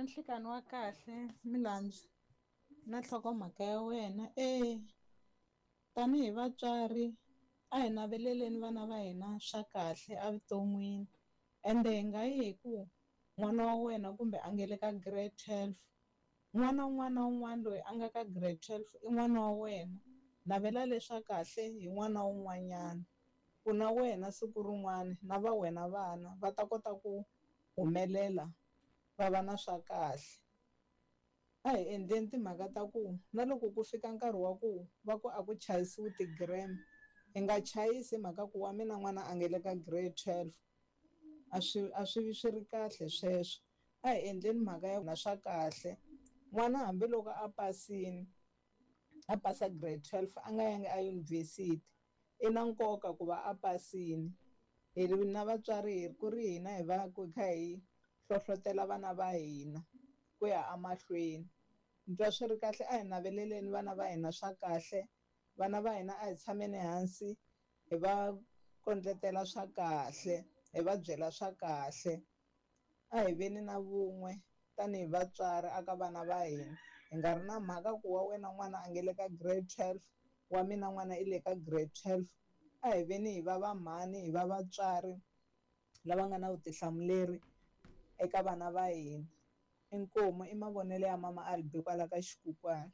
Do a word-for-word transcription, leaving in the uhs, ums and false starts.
Nhlikani wa kahle Milandzu na nhlokomhaka ya wena. E tanihi vatswari a hi naveleleni vana va hina swa kahle evuton'wini ende hi nga yi hi ku n'wana wa wena kumbe a nge le ka grade twelve n'wana wun'wana na wun'wana loyi a nga ka grade twelve i n'wana wa wena navela leswa kahle hi n'wana wun'wanyana ku na wena siku rin'wana na va wena vana va ta kota ku humelela va va na swa kahle. A hi endleni timhaka ta ku na loko ku fika nkarhi wa ku va ku a ku chayisiwi ti-gram hi nga chayisi hi mhaka ku wa mina n'wana a nge le ka grade twelve a swi a swi vi swi ri kahle sweswo a hi endleni mhaka ya na swa kahle n'wana hambiloko a pasini a pasa grade twelve a nga yangi eyunivhesiti i na nkoka ku va a pasini hi ri na vatswari hi ku ri hina hi va ku hi kha hi hlohlotelo vana va hina ku ya emahlweni ni twa swi ri kahle a hi naveleleni vana va hina swa kahle vana va hina a hi tshameni hansi hi va kondletela swa kahle hi va byela swa kahle a hi veni na vun'we tanihi vatswari aka vana va hina hi nga ri na mhaka ku wa wena n'wana a nge le ka grade twelve wa mina n'wana i le ka grade twelve a hi veni hi va va mhani hi va vatswari lava nga na vutihlamuleri eka vana va hina inkomu i mavonelo ya mama Albi kwala ka Xikukwana.